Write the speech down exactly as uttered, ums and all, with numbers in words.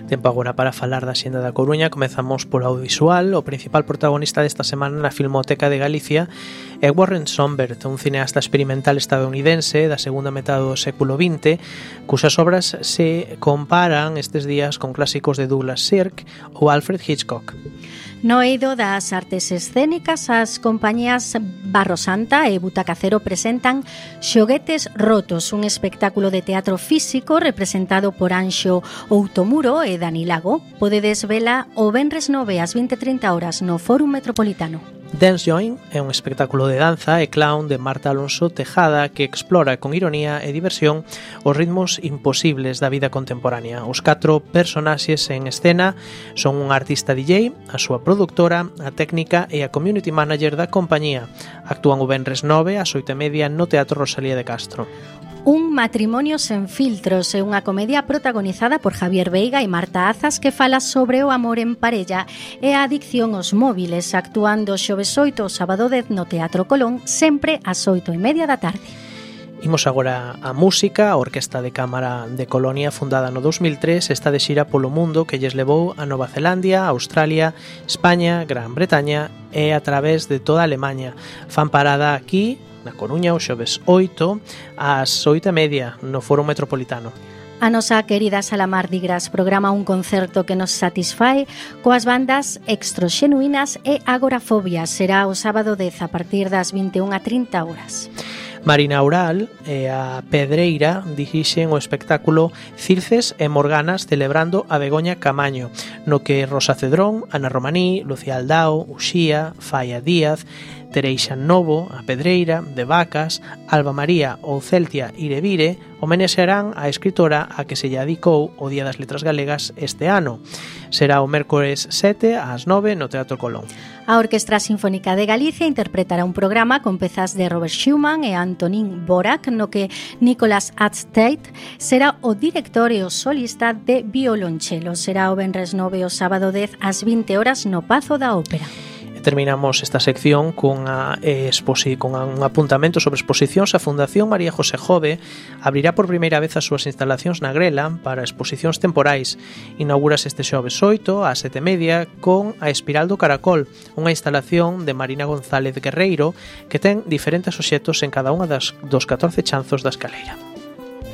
Tempo agora para falar da Xenda da Coruña. Comezamos polo audiovisual. O principal protagonista desta semana na Filmoteca de Galicia é Warren Sombert, un cineasta experimental estadounidense da segunda metade do século vinte, cusas obras se comparan estes días con clásicos de Douglas Sirk ou Alfred Hitchcock. No eido das artes escénicas, as compañías Barro Santa e Butacacero presentan Xoguetes Rotos, un espectáculo de teatro físico representado por Anxo Outomuro e Dani Lago. Podedes vela o venres nove ás vinte e trinta horas no Fórum Metropolitano. Dance Join é un espectáculo de danza e clown de Marta Alonso Tejada que explora con ironía e diversión os ritmos imposibles da vida contemporánea. Os catro personaxes en escena son un artista D J, a súa produtora, a técnica e a community manager da compañía. Actúan o venres nove ás oito e media no Teatro Rosalía de Castro. Un matrimonio sen filtros é unha comedia protagonizada por Javier Veiga e Marta Azas que fala sobre o amor en parella e a adicción aos móviles, actuando xoves oito o sábado dez no Teatro Colón, sempre ás oito e media da tarde. Imos agora a música. A Orquesta de Cámara de Colonia, fundada no dos mil tres, está de xira polo mundo que lles levou a Nova Zelandia, Australia, España, Gran Bretaña e a través de toda Alemanha. Fan parada aquí na Coruña o xoves oito ás oito e media no Foro Metropolitano. A nosa querida Sala Mardi Gras programa un concerto que nos satisfai coas bandas Extroxenuínas e Agorafobia. Será o sábado dez a partir das vinte e unha e trinta horas. Marina Aural e a Pedreira dirixen o espectáculo Circes e Morganas celebrando a Begoña Camaño, no que Rosa Cedrón, Ana Romaní, Lucía Aldao, Uxía, Faia Díaz, Tereixa Novo, a Pedreira, De Vacas, Alba María ou Celtia Irevire homenaxearán a escritora a que se lle adicou o Día das Letras Galegas este ano. Será o mércores sete ás nove no Teatro Colón. A Orquestra Sinfónica de Galicia interpretará un programa con pezas de Robert Schumann e Antonín Dvořák, no que Nicolas Atzteit será o director e o solista de violonchelo. Será o venres nove o sábado dez ás vinte horas no Pazo da Ópera. Terminamos esta sección con, a, eh, exposi- con a, un apuntamento sobre exposicións. A Fundación María José Jove abrirá por primeira vez as súas instalacións na Grela para exposicións temporais. Inaugúrase este xoves oito ás sete e media con A Espiral do Caracol, unha instalación de Marina González Guerreiro que ten diferentes obxectos en cada unha das, dos catorce chanzos da escaleira.